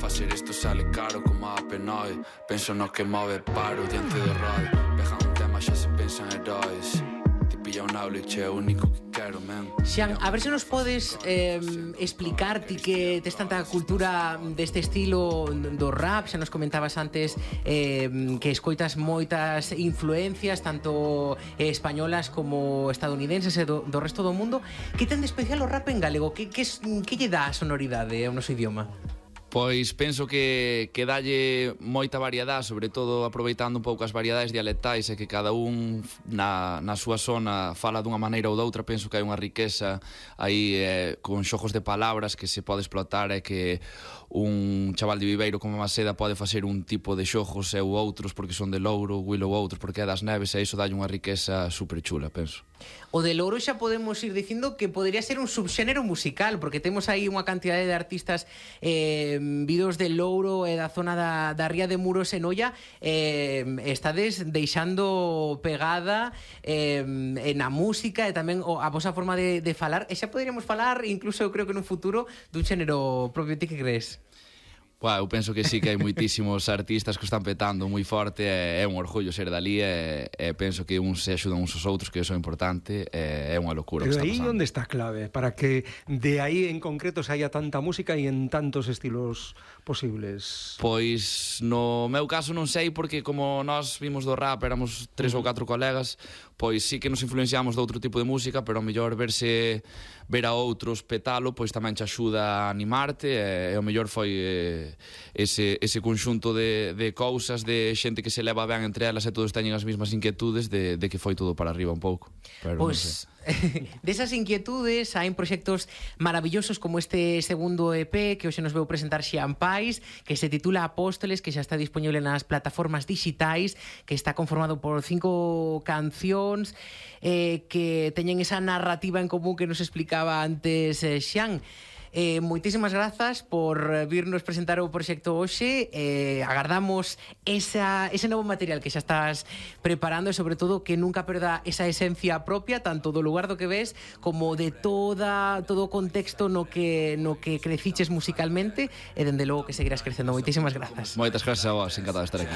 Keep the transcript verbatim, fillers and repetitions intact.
Facer isto sale caro como a Penoi. Penso no que move paro diante do radio. Pegan un tema xa se pensan heróis. Te pilla un aula e che é o único que quero, men. Xan, a ver se nos podes eh, explicar ti que tes tanta cultura deste estilo do rap. Xa nos comentabas antes eh, que escoitas moitas influencias tanto eh, españolas como estadounidenses e do, do resto do mundo. Que ten de especial o rap en galego? Que, que, que lle dá a sonoridade ao noso idioma? Pois penso que, que dalle moita variedade, sobre todo aproveitando un pouco as variedades dialectais e que cada un na, na súa zona fala dunha maneira ou doutra. Penso que hai unha riqueza aí eh, con xogos de palabras que se pode explotar e que un chaval de Viveiro como Maceda pode facer un tipo de xogos e ou outros porque son de Louro, Willow outros porque é das Neves, e iso dalle unha riqueza super chula, penso. O de Louro xa podemos ir dicindo que podría ser un subxénero musical, porque temos aí unha cantidade de artistas eh, vidos de Louro e da zona da, da Ría de Muros e Noia. eh, estades deixando pegada eh, na música e tamén a vosa forma de, de falar, e xa poderíamos falar incluso eu creo que nun futuro dun xénero propio. Ti que crees? Bueno, eu penso que sí que hai moitísimos artistas que están petando moi forte, e é un orgullo ser dali, e, e penso que uns se axudan uns aos outros, que iso é importante, e é unha locura. Pero aí onde está a clave para que de aí en concreto se haya tanta música e en tantos estilos posibles? Pois no meu caso non sei, porque como nós vimos do rap, éramos tres ou catro colegas, pois sí que nos influenciamos de outro tipo de música, pero ao mellor verse ver a outros petalo, pois tamén te axuda a animarte, e, e o mellor foi eh, ese, ese conxunto de, de cousas, de xente que se leva ben entre elas e todos teñen as mesmas inquietudes, de, de que foi todo para arriba un pouco. Pero pois desas inquietudes hai proxectos maravillosos como este segundo E P que hoxe nos veu presentar Xian Pais, que se titula Apóstoles, que xa está disponible nas plataformas digitais, que está conformado por cinco cancións eh, que teñen esa narrativa en común que nos explicaba antes eh, Xian. Eh, moitísimas grazas por virnos presentar o proxecto hoxe. eh, agardamos esa, ese novo material que xa estás preparando, e sobre todo que nunca perda esa esencia propia, tanto do lugar do que ves como de toda todo o contexto no que, no que creciches musicalmente, e dende logo que seguirás crecendo. Moitísimas grazas. Moitas grazas a vos, encantado de estar aquí.